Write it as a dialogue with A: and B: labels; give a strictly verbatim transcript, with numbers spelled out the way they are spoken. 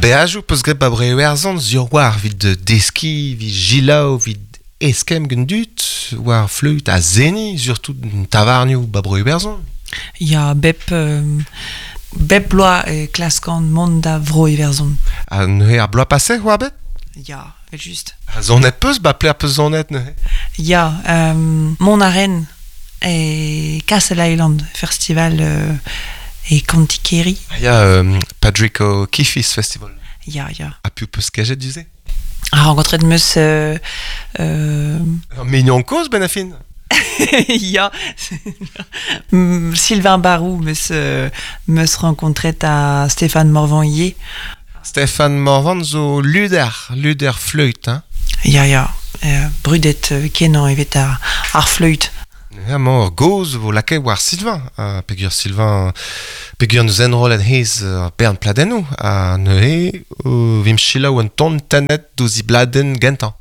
A: beajoù peus graet ba Bro-Iwerzhon sur war 'vit deskiñ, 'vit jilaou, 'vit eskemm gant dud, war fleüt ha seniñ, surtout tavarnioù ba Bro-Iwerzhon.
B: Ya, bep, euh, bep bloaz e klaskan mont da Vro-Iwerzhon.
A: Ha neuze ar bloaz paset oa bet?
B: Ya, vel just.
A: Ha zonet peus ba pler peus zonet neuze?
B: Ya, euh, mont a ren e Castle Island, festival euh, e Kantikeri.
A: Ah ya, euh, Patrick O'Keefe's Festival.
B: Ya, ya.
A: Ha piv peus kejet du-se?
B: Ha renkontret meus... Euh, euh,
A: Ur mignon kozh ben a fin.
B: Ya, Sylvain Barou meus, euh, meus renkontret a Stéphane Morvan ivez.
A: Stéphane Morvan zo luder, luder fleüt, hein.
B: Ya, ya, euh, brudet euh, kenañ evet ar, ar fleüt.
A: Ya, mañ ur gaoz vo lakaet war Sylvain, ha peogwir Sylvain, peogwir neus enrollet hezh ur bern pladennoù, ha neuze euh, vimp selaou un ton tennet douzh e bladenn gentañ.